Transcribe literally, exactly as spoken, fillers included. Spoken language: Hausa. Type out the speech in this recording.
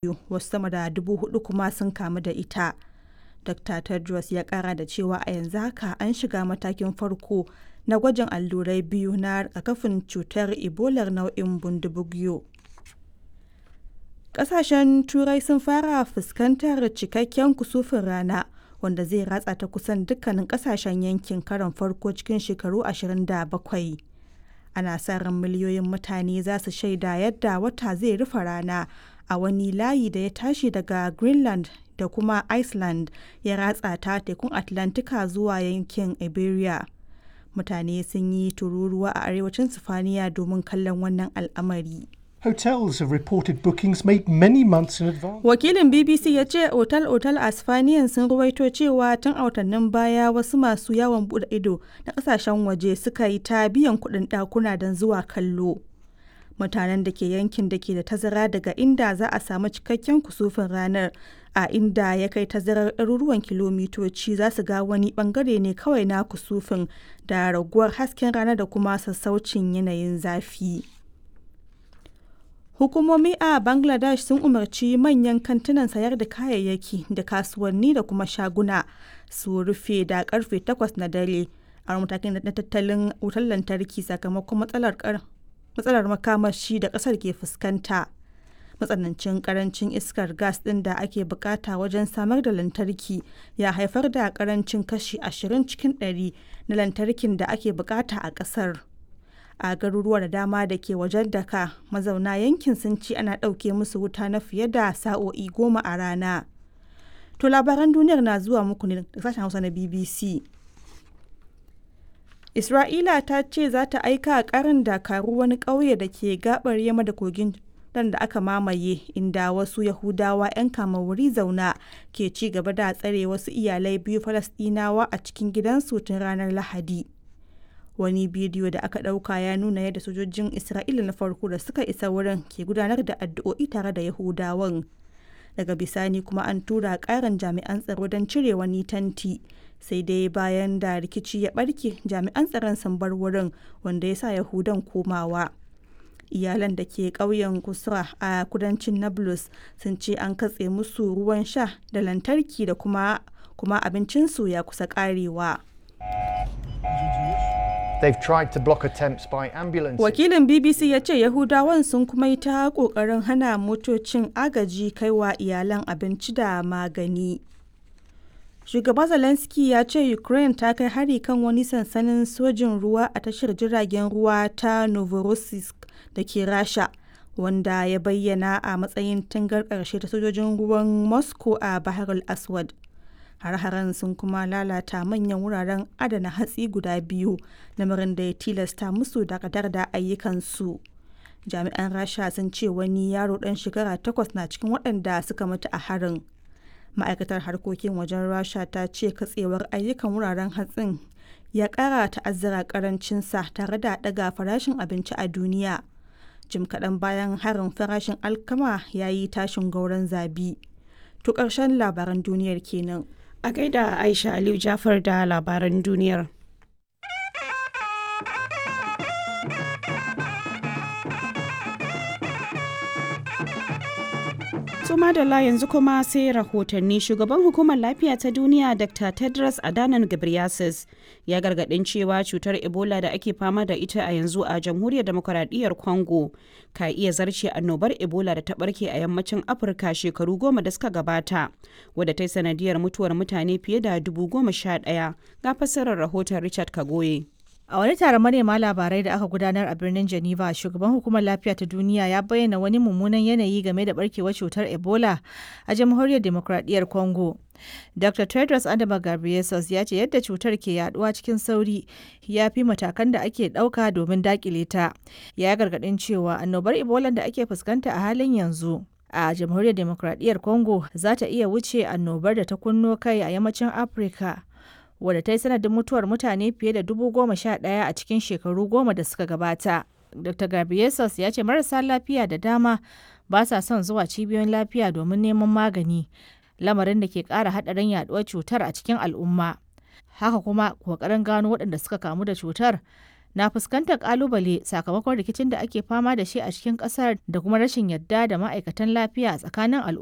biyu, wasu sama da dubu hudu kuma sun kamu da ita. Dr. Tedros ya kara da cewa a yanzu haka an shiga matakin farko na gwajin allurai biyu na rigakafin cutar Ebolar nau'in Bundibugyo. Ƙasashen Turai sun fara fuskantar cikakken kusufin rana wanda zai ratsa ta kusan dukkanin ƙasashen yankin karon farko cikin shekaru ashirin da bakwai. Ana sa ran miliyoyin mutane za su shaida yadda wata zai rufe rana a wani layi da ya tashi daga Greenland da kuma Iceland ya ratsa ta tekun Atlantika zuwa yankin Iberia. Mutane sun yi tururuwa a arewacin Sifaniya domin kallon wannan al'amari. Hotels have reported bookings made many months in advance. Wakilin B B C ya ce otal-otal a Sifaniyan sun ruwaito cewa tun a watannin baya wasu masu yawon bude ido na kasashen waje suka yi ta biyan kuɗin ɗakuna don zuwa kallo. Mutanen da ke yankin da ke da tazara daga inda za a samu cikakken kusufin ranar a inda ya kai tazarar ɗaruruwan kilomitoci za su ga wani bangare ne kawai na kusufin da raguwar hasken rana da kuma sassaucin yanayin zafi. Hukumomi a Bangladesh sun umarci manyan kantunan sayar da kayayyaki da kasuwanni da kuma shaguna su rufe da karfe takwas na dare a matakin na tattalin wutar lantarki sakamakon matsalar matsalar makamashi da kasar ke fuskanta. Matsanancin karancin iskar gas ɗin da ake bukata wajen samar da lantarki ya haifar da karancin kashi ashirin cikin ɗari na lantarkin da ake bukata a kasar. A garuruwa da dama da ke wajen Daka, mazauna yankin sun ce ana ɗauke musu wuta na fiye da sa'o'i goma a rana. To, labaran duniyar na zuwa muku ne da sashen Hausa na B B C. Isra'ila ta ce za ta aika karin dakaru wani ƙauye da ke gabar yamma da kogin Jordan da aka mamaye, inda wasu Yahudawa 'yan wuri zauna ke ci gaba da tsare wasu iyalai biyu Falasɗinawa a cikin gidansu tun ranar Lahadi. Wani bidiyo da aka ɗauka ya nuna yadda sojojin Isra'ila na farko da suka isa wurin ke gudanar da addu'o'i tare da Yahudawan. Daga bisani kuma an tura ƙarin jami'an tsaro don cire wani tanti. Sai dai bayan da rikici ya barke, jami'an tsaron sun bar wurin, wanda ya sa Yahudan komawa. Iyalan da ke ƙauyen Kusra a kudancin Nablus sun ce an katse musu ruwan sha da lantarki da kuma kuma abincinsu ya kusa ƙarewa. They've tried to block attempts by ambulances. Wakilin B B C ya ce Yahudawan sun kuma yi ta ƙoƙarin hana motocin agaji kaiwa iyalan abinci da magani. Shugaba Zelensky ya ce Ukraine ta kai hari kan wani sansanin sojin ruwa a tashar jiragen ruwa ta Novorossiysk da ke Rasha, wanda ya bayyana a matsayin tangar ƙarshe ta sojojin ruwan Moscow a Bahar al-Aswad. Har-haren sun kuma lalata manyan wuraren adana hatsi guda biyu, lamarin da ya tilasta musu dakatar da ayyukansu. Jami'an Rasha sun ce wani yaro ɗan shekara takwas na cikin waɗanda suka mutu a harin. Ma'aikatar harkokin wajen Rasha ta ce katsewar ayyukan wuraren hatsin ya kara ta'azzara karancinsa tare da daga farashin abinci a duniya. Jim kaɗan bayan harin, farashin alkama ya yi tashin gauran zabi. To, ƙarshen labaran duniyar kenan. A gaida Aisha Aliyu Jafar da labaran duniyar. Su madalla, yanzu kuma sai rahotanni. Shugaban Hukumar Lafiya ta Duniya, Doctor Tedros Adhanom Ghebreyesus, ya gargadin cewa cutar Ebola da ake fama da ita a yanzu a Jamhuriyar Demokuraɗiyyar Congo ka iya zarce annobar Ebola da ta barke a yammacin Afirka shekaru goma da suka gabata, wadda ta yi sanadiyar mutuwar mutane fiye da dubu goma sha ɗaya. Ga fassarar rahoton Richard Kagoye. A wani taron manema labarai da aka gudanar a birnin Geneva, shugaban Hukumar Lafiya ta Duniya ya bayyana wani mummunan yanayi game da barkewar cutar Ebola a Jamhuriyar Demokradiyyar Congo. Doctor Tedros Adhanom Ghebreyesus ya ce yadda cutar ke yaduwa cikin sauri ya fi matakan da ake dauka domin dakile ta. Ya gargadin cewa annobar Ebola da ake fuskanta a halin yanzu a Jamhuriyar Demokradiyyar Congo za ta iya wuce annobar da ta kunno kai a yammacin Afirka, wadda ta yi sanadin mutuwar mutane fiye da dubu goma sha ɗaya a cikin shekaru goma da suka gabata. Doctor Ghebreyesus ya ce marasa lafiya da dama ba sa son zuwa cibiyoyin lafiya domin neman magani, lamarin da ke ƙara haɗarin yaduwar cutar a cikin al'umma. Haka kuma ƙoƙarin gano waɗanda suka kamu da cutar na fuskantar kalubale sakamakon rikicin da ake fama da shi a cikin kasar da kuma rashin yadda da ma'aikatan lafiya a tsakanin al'umma.